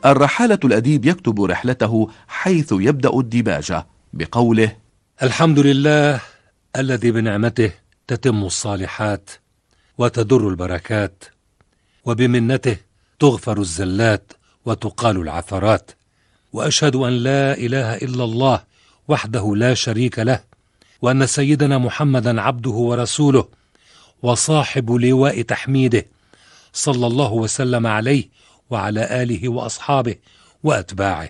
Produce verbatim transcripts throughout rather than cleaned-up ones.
الرحالة الأديب يكتب رحلته حيث يبدأ الديباجة بقوله: الحمد لله الذي بنعمته تتم الصالحات وتدر البركات، وبمنته تغفر الزلات وتقال العثرات، وأشهد أن لا إله إلا الله وحده لا شريك له، وأن سيدنا محمدا عبده ورسوله وصاحب لواء تحميده، صلى الله وسلم عليه وعلى آله وأصحابه وأتباعه.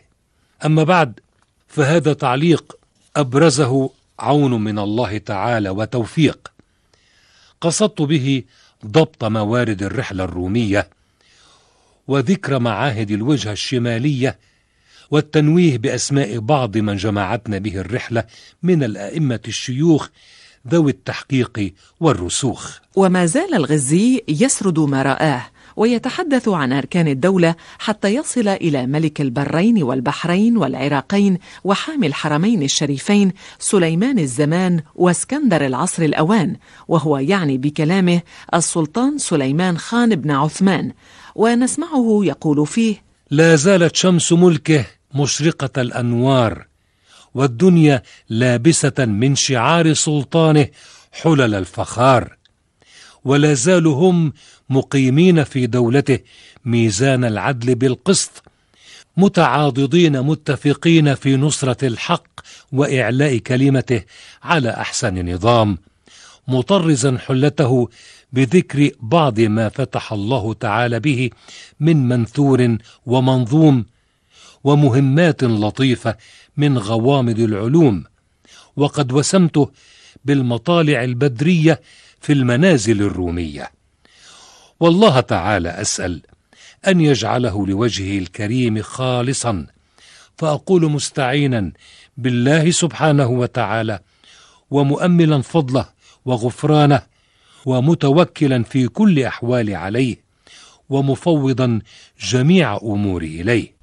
أما بعد، فهذا تعليق أبرزه عون من الله تعالى وتوفيق، قصدت به ضبط موارد الرحلة الرومية وذكر معاهد الوجهة الشمالية والتنويه بأسماء بعض من جمعتنا به الرحلة من الأئمة الشيوخ ذوي التحقيق والرسوخ. وما زال الغزي يسرد ما رآه ويتحدث عن أركان الدولة حتى يصل إلى ملك البرين والبحرين والعراقين وحامي الحرمين الشريفين سليمان الزمان واسكندر العصر الأوان، وهو يعني بكلامه السلطان سليمان خان بن عثمان. ونسمعه يقول فيه: لا زالت شمس ملكه مشرقة الأنوار، والدنيا لابسة من شعار سلطانه حلل الفخار، ولا زالوا هم مقيمين في دولته ميزان العدل بالقسط، متعاضدين متفقين في نصرة الحق وإعلاء كلمته على أحسن نظام، مطرزا حلته بذكر بعض ما فتح الله تعالى به من منثور ومنظوم ومهمات لطيفة من غوامض العلوم، وقد وسمته بالمطالع البدرية في المنازل الرومية. والله تعالى أسأل أن يجعله لوجهه الكريم خالصا، فأقول مستعينا بالله سبحانه وتعالى ومؤملا فضله وغفرانه، ومتوكلا في كل أحوال عليه، ومفوضا جميع أموري إليه.